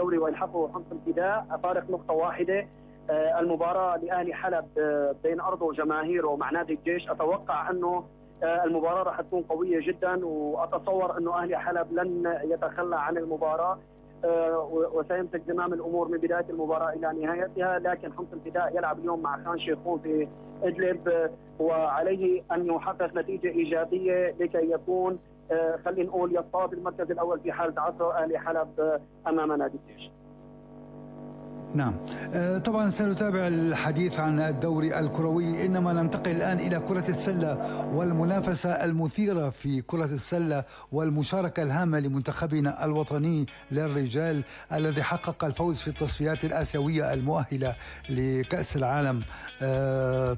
الدوري ويلحقوا حمص الفداء فارق نقطة واحدة. المباراة لأهلي حلب بين أرضه وجماهيره مع نادي الجيش، أتوقع أنه المباراة راح تكون قوية جدا، وأتصور أنه أهلي حلب لن يتخلى عن المباراة وسيمسك زمام الأمور من بداية المباراة إلى نهايتها. لكن حمص الفداء يلعب اليوم مع خان شيخون في إدلب، وعليه أن يحقق نتيجة إيجابية لكي يكون خلينا نقول يصطاد المركز الأول في حال تعثر أهلي حلب أمام نادي الجيش. نعم، طبعا سنتابع الحديث عن الدوري الكروي، إنما ننتقل الآن إلى كرة السلة والمنافسة المثيرة في كرة السلة والمشاركة الهامة لمنتخبنا الوطني للرجال الذي حقق الفوز في التصفيات الآسيوية المؤهلة لكأس العالم.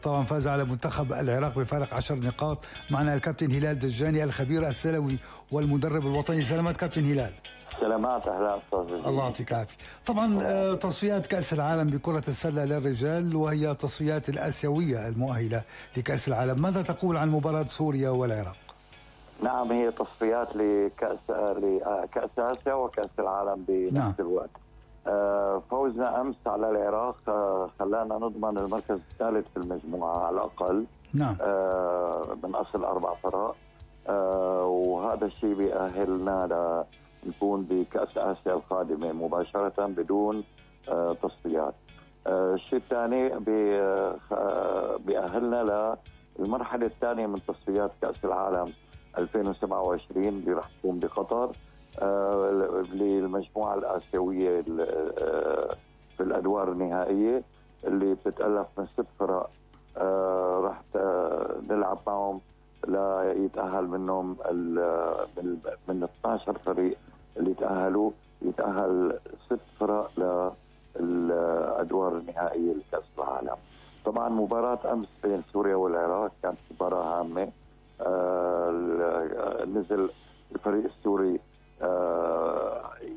طبعا فاز على منتخب العراق بفارق 10 نقاط. معنا الكابتن هلال دجاني الخبير السلوي والمدرب الوطني. سلامات كابتن هلال. سلامات، اهلا استاذ. الله يعطيك العافيه. طبعا تصفيات كأس العالم بكرة السلة للرجال وهي تصفيات الآسيوية المؤهلة لكأس العالم، ماذا تقول عن مباراة سوريا والعراق؟ نعم، هي تصفيات لكأس آسيا وكأس العالم بنفس الوقت. فوزنا أمس على العراق خلانا نضمن المركز الثالث في المجموعة على الأقل. نعم. من أصل 4 فرق، وهذا الشيء بيأهلنا نكون بكأس آسيا القادمة مباشرة بدون تصفيات. الشيء الثاني بيأهلنا للمرحلة الثانية من تصفيات كأس العالم 2027 اللي راح تكون بقطر، للمجموعة الآسيوية في الأدوار النهائية اللي بتتألف من 6 فرق. راح نلعب معهم لا يتأهل منهم من 12 فريق اللي تأهلوا، يتأهل 6 فرق للأدوار النهائية لكأس العالم. طبعا مباراة أمس بين سوريا والعراق كانت مباراة هامة. نزل الفريق السوري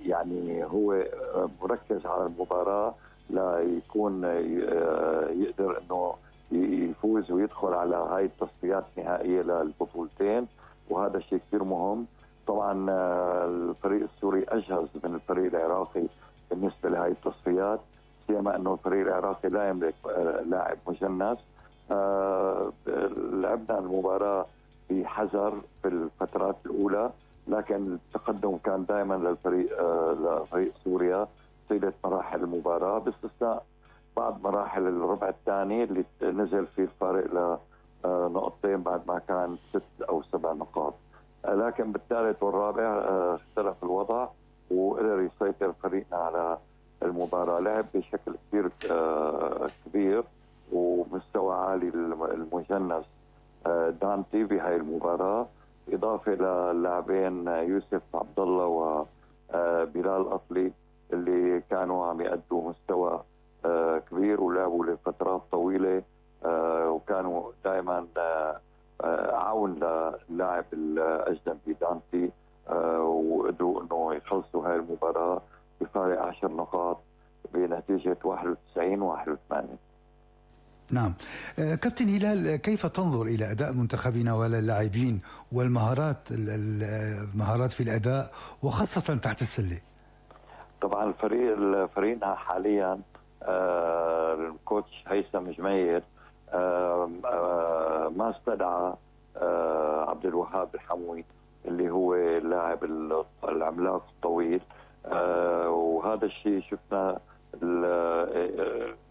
يعني هو مركز على المباراة لا يكون يقدر انه يفوز ويدخل على هاي التصفيات النهائية للبطولتين، وهذا شيء كثير مهم. طبعا الفريق السوري أجهز من الفريق العراقي بالنسبة لهاي التصفيات، سيما أنه الفريق العراقي لا يملك لاعب مجنس. لعبنا المباراة بحذر في الفترات الأولى، لكن التقدم كان دائما لفريق سوريا طيلة مراحل المباراة، باستثناء بعض مراحل الربع الثاني اللي نزل فيه الفارق لنقطتين بعد ما كان 6 أو 7 نقاط. لكن بالثالث والرابع اختلف الوضع وقدر يسيطر فريقنا على المباراة. لعب بشكل كثير كبير ومستوى عالي المجنس دانتي بهاي المباراة، إضافة للاعبين يوسف عبد الله وبلال أطلي اللي كانوا عم يأدوا مستوى كبير ولعبوا لفترات طويلة، وكانوا دائما عون للاعب الأجنبي دانتي، وقدروا انه يخلصوا هاي المباراة بفارق 10 نقاط بنتيجة 91-81. نعم. كابتن هلال، كيف تنظر إلى أداء منتخبنا واللاعبين والمهارات في الأداء وخاصة تحت السلة؟ طبعا فريقنا حاليا الكوتش هيثم جمير ما استدعى عبد الوهاب الحموي اللي هو اللاعب العملاق الطويل، وهذا الشيء شفنا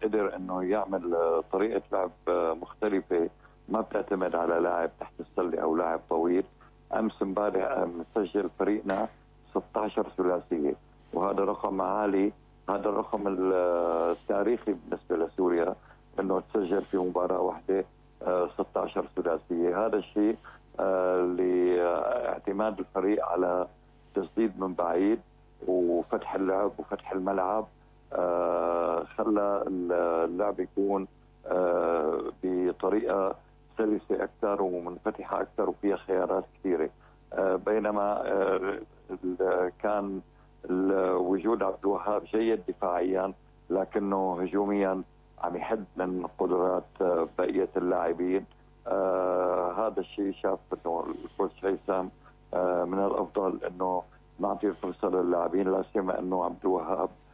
قدر انه يعمل طريقه لعب مختلفه ما بتعتمد على لاعب تحت السله او لاعب طويل. امس امبارح مسجل فريقنا 16 ثلاثيه، وهذا رقم عالي، هذا الرقم التاريخي بالنسبه لسوريا انه تسجل في مباراه واحده 16 ثلاثيه. هذا الشيء لاعتماد الفريق على تسديد من بعيد وفتح اللعب وفتح الملعب، خلى اللعب يكون بطريقه سلسه اكثر ومنفتحه اكثر وفيها خيارات كثيره. بينما كان وجود عبد الوهاب جيد دفاعيا لكنه هجوميا عم يحد من قدرات بقيه اللاعبين. هذا الشيء شاف انه الكوتش هيثم من الافضل انه نعطي الفرصه للاعبين، لا سيما انه عبد الوهاب